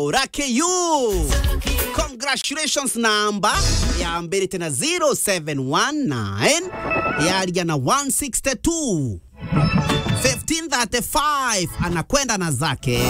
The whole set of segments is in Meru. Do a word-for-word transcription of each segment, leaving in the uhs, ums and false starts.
Urake you. Congratulations, namba yambirite na zero seven one nine, yaria na one sixty-two. Fifteen thirty-five, anakwenda na zake.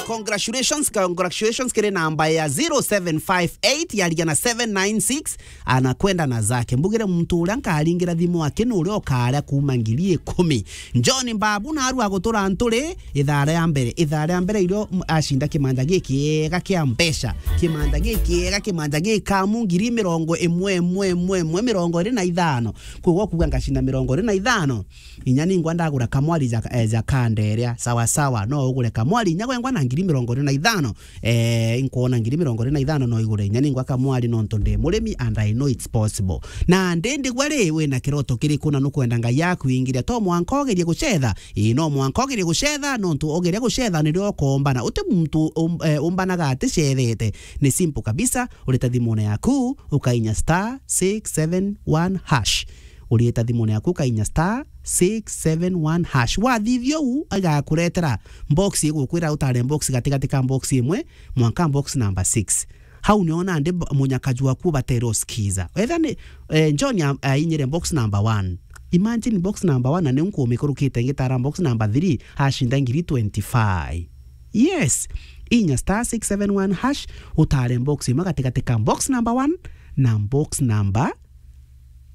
Congratulations, congratulations kiri namba ya zero seven five eight, yaria na seven nine six, anakwenda na zake. Mbugire muntu uria nkaringira thimu ake ni uria ukaria kuuma ngiri ikumi. John Mbabu naarua gutura Nturi, ithaa ria mbere. Ithaa ria mbere irio, m-, acinda kimanja gikiega kia mbeca. Kimanja gikiega, kimanja gikamu ngiri mirongo imwe, imwe, imwe, imwe, mirongo iri na ithano. Koguo kuuga ngacinda mirongo iri na ithano. Inya ningwa ndagura kamwari ja, eh, ja kanderia. Sawa, sawa. No ugure kamwari inya gwengwa na ngiri mirongo iri na ithano. Eh, inkwona ngiri mirongo iri na ithano no igure inya ningwa kamwari nontu ndi murimi and I know it's possible. Na ndi ndigwa ri, wina kiroto kiriku na nukwenda Ngai yaku ingiria? To mwanka ugerie gucetha. Ii, no mwanka ugerie gucetha, nontu ugeria gucetha nirio ukombana. Uti muntu um-, eh, umbanaga aticethete. Ni simple kabisa, urita thimune yaku, ukainya star six seven one hash. Urita thimune yaku, ukainya star six seven one hash. Wathithia uu, igakuretera box igukwira utare box gatigati ka box imwe mwanka box number six. Hau nio nandi b-, munyakaju waku ubatere usikiza. Wetha ni, eh, John a-, ainyire box number one. Imagine box number one, na niu nkumikurukite ngitara box number three, acinda ngiri twenty-five. Yes. Inya star six seven one hash, utare box imwe gatigati ka box number one na box number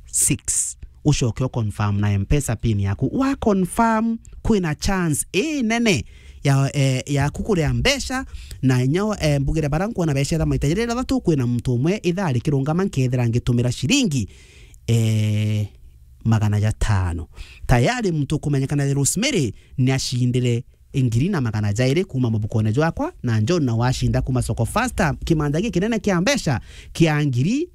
six. Ucoke u confirm na M-Pesa pin yaku. Wa confirm, kwina chance inene ya, eh, yaku kuria mbeca, na inya, eh, mbugire bara nkwona beca tha maita jaria jathatu, kwina muntu umwe ithaa rikirungama nkethira ngitumira ciringi, eh, magana jatano. Tayari muntu ukumenyekana ja Rosemary ni acindire ngiri na magana jairi kuuma mubukone jwakwa, na John na wacinda kuuma Soko Fasta kimanja gikinene kia mbeca kia ngiri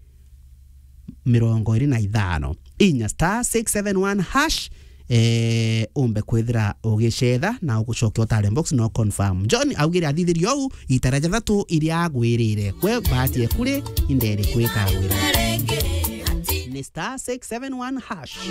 mirongo iri na ithano. Inya star six seven one hash, eh, umbe kwithira ugicetha na ugucokia utare box no confirm. John augire athithirie uu itara jathatu iria agwirire. Kwe bahati ekuri inderi kwika wira. Ni star six seven one hash.